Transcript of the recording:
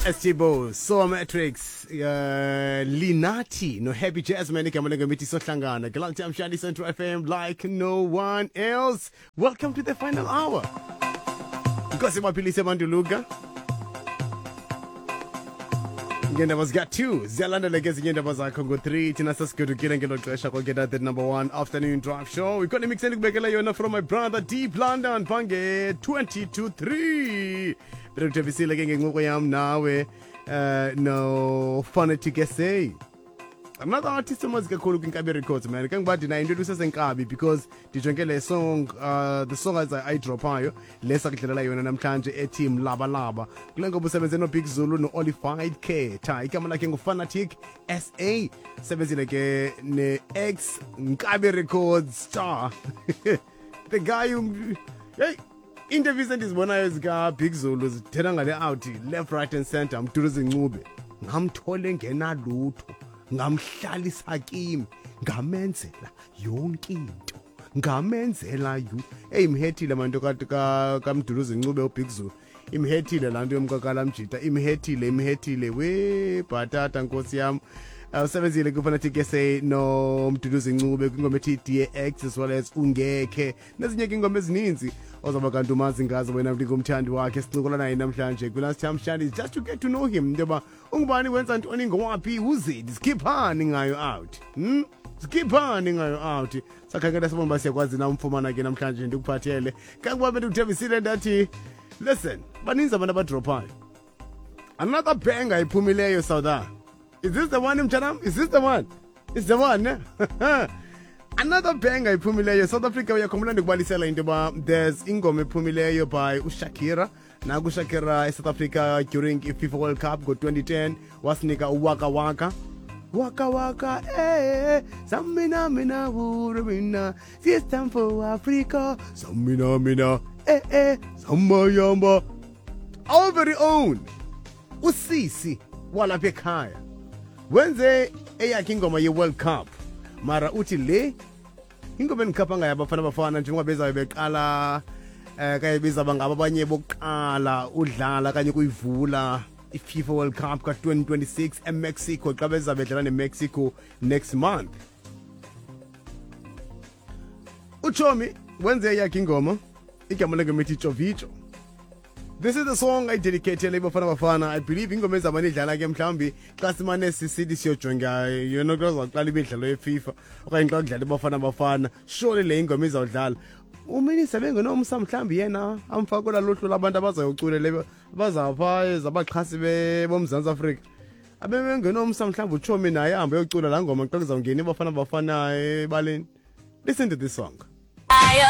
Estibo, Soa Matrix, Linati, no Happy Jasmine, igama lengoma sohlangana. Galante Amshali Central FM like no one else. Welcome to the final hour. Nkosi maphilise abantu Luka. Ngeendaba zika-2 ziyalandela ke ezinye iindaba zakho ngo-3. Thina sesigodukile ngelo xesha kwaketa the number one afternoon drive show. Ikhona imix endikubekela yona from my brother Deep London phange-20 to 3. Bekuthembisile ke ngencoko yam nawe no Fanatic SA, another artist omazi kakhulu kwiNkabi Records, man. Kangoba ndinayo into elusesenkabi because ndijonge le song, the song as ayidrophayo le sakudlalela yona namhlanje ethi Mlabalaba. Kule ngoma usebenze noBig Zulu no-Olified Khetha. Igama lakhe nguFanatic SA, sebenzile ke ne-ex Nkabi Records star, the guy who, hey, interviews endizibonayo zika-Big Zulu zithena ngale out left, right and center. Mduduzi Ncube ngamthole ngenalutho, ngamhlalisa kimi, ngamenzela yonke into, ngamenzela yu. Eyi, imhethile manto kaMduduzi Ncube uBig Zulu, imhethile laa nto yomkakala mjita, imhethile, imhethile we bhatata nkosi yam. Usebenzile kuFanatic SA noMduduzi Ncube kwingoma ethi DX as well as Ungekhe nezinye ke ingoma ezininzi ozawuba kanti umazi ngazo wena ndingumthandi wakhe. Sincokola naye namhlanje kwi-Last Time Shandies just to get to know him, into yoba ungubani, wenza ntoni, ngowaphi, uzidi sikhiphani ngayo out, Sikhiphani ngayo out. Sakhangela sibona uba siyakwazi na umfumana ke namhlanje. Ndikuphathele kangoba bendikuthembisile ndathi, listen, baninzi abantu abadrophayo. Another banger iphumileyo South. Is this the one, mtshanam? Is this the one? Is the one, ne? Another banger iphumileyo South Africa. Uyakhumbula ndikubalisela into yoba there's ingoma ephumileyo by uShakira. Naku uShakira eSouth Africa during i-FIFA World Cup ngo-2010 wasinika uWaka Waka. Waka waka, eh, samina mina wuru mina, it's time for Africa, samina mina, eh eh, samayamba. Our very own usisi walapha ekhaya wenze eyakhe ingoma ye-World Cup, mara uthi le ingoma endikhapha ngayo Abafana Bafana njengoba bezayo beqala kaye bezaba ngabo abanye bokuqala udlala kanye kuyivula i-FIFA World Cup ka-2026 eMexico xa bezabe bedlala neMexico next month. Uchomi wenze eyakhe ingoma, igama lengoma ithi Tjovijo. This is the song I dedicated Bafana Bafana. I believe ingoma ezamane idlala ke mhlawumbi xa simane sisithi siyojonga yona xa kuzawuqala imidlalo yeFIFA okanye xa kudlala iBafana Bafana. Surely le ingoma izawudlala. Uminisa bengenomsa mhlawumbi yena amfake kolaa luhlu labantu abazayocula abazawupha zabaxhasi boMzantsi Afrika. Abebengenomsa mhlawumbi utshomi naye ahambe yocula laa ngoma xa kuzawungena iBafana Bafana ebaleni. Listen to this song. Ayo.